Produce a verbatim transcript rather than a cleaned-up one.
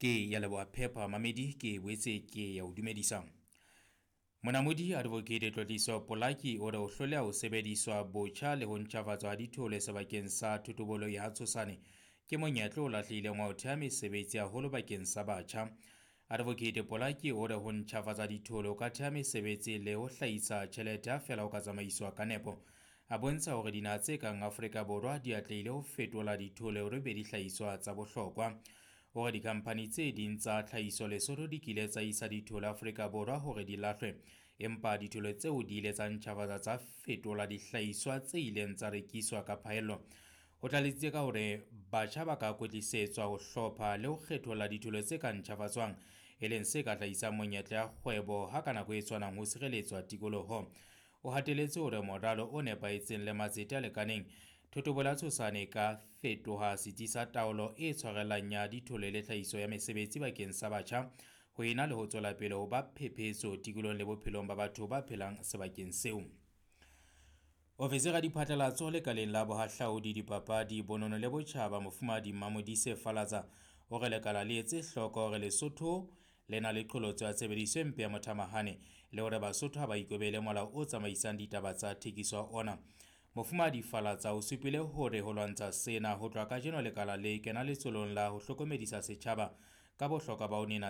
Ke ya leboha Phepa Mamedi, ke boetse ke ya o dumedisa. Monamodi Advocate Tlotliso Polaki o re ho hloleha ho sebediswa botjha le ho ntjhafatswa ha dithole sebakeng sa thotobolo ya Tshosane ke monyetla o lahlehileng wa ho theha mesebetsi haholo bakeng sa batjha. Advocate Polaki o re ho ntjhafatsa dithole ho ka theha mesebetsi le ho hlahisa tjhelete ha feela ho ka tsamaiswa ka nepo. A bontsha hore dinaha tse kang Afrika Borwa di atlehile ho fetola dithole hore be dihlahiswa tsa bohlokwa. Hore dikhamphani tse ding tsa tlhahiso Lesotho di kile tsa isa dithole Afrika Borwa hore di lahlwe, empa dithole tseo di ile tsa ntjhafatsa tsa fetola dihlahiswa tse ileng tsa rekiswa ka phaello. O tlaletsitse ka hore batjha ba ka kwetlisetswa ho hlopha le ho kgetholla dithole tse ka ntjhafatswang, e leng se ka hlahisang monyetla ya kgwebo ha ka nako e tshwanang ho sireletswa tikoloho. O hateletse hore moralo o nepahetseng le matsete a lekaneng, thotobolo ya Tshosane e ka fetoha setsi sa taolo e tshwarellang ya dithole le tlhahiso ya mesebetsi bakeng sa batjha ho ena le ho tswela pele ho ba phephetso tikolohong le bophelong ba batho ba phelang sebakeng seo. Ofisiri ya diphatlalatso lekaleng la bohahlaudi, dipapadi, bonono le botjhaba Mofumahadi Mmamodise Falatsa o re lekala le etse hloko hore Lesotho le na le qholotso ya tshebediso e mpe ya mothamahane le hore Basotho ha ba ikobele molao o tsamaisang ditaba tsa thekiso ya ona. Mofumahadi Falatsa o supile hore ho lwantsha sena ho tloha kajeno lekala le kena letsholong la ho hlokomedisa setjhaba ka bohlokwa ba ho nena